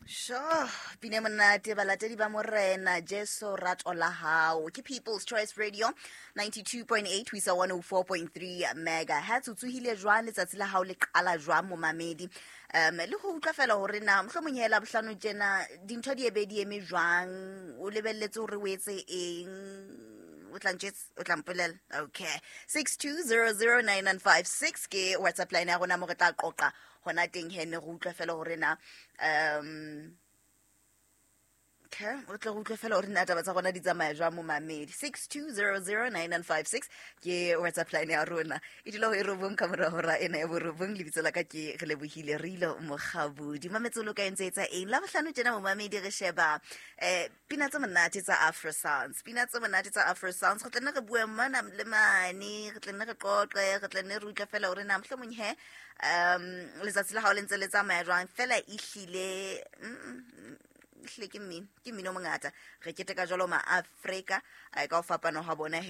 Sho, pine monate balatedi ba morena Jesu rato la hao. Ke People's Choice Radio 92.8 ho isa 104.3 megahertz. O tsohile jwang letsatsi la hao le qala jwang momamedi? Le go utlwa fela hore na mohlomong hela bohlano tjena dintho di ebe di eme jwang, o lebelletse hore o etse eng? O tla ntjwetsa, o tla mpolela. Okay. 62009956 ke WhatsApp line ya rona mo re tla qoqa hona teng he ne re utlwa fela hore na okay, o tle re utlwe fela hore na taba tsa rona di tsamaya jwang momamedi. 62009956 ke WhatsApp line ya rona. E dula ho e robong ka mora hora ena ya borobong. Lebitso la ka ke re lebohile Rilo Mokgabudi. Mametse lo ka entse etsa eng la bohlano tjena momamedi? Re sheba pina tse monate tsa Afro Sounds, pina tse monate tsa Afro Sounds. Re tla nne re bue mona le mane, re tla nne re qoqe, re tla nne re utlwe fela hore na mohlomong he letsatsi la hao le ntse le tsamaya jwang. Fela ehlile ehlile ke mmino, ke mmino o mongata. Re keteka jwalo ma Afrika ka ho fapana ha bona he.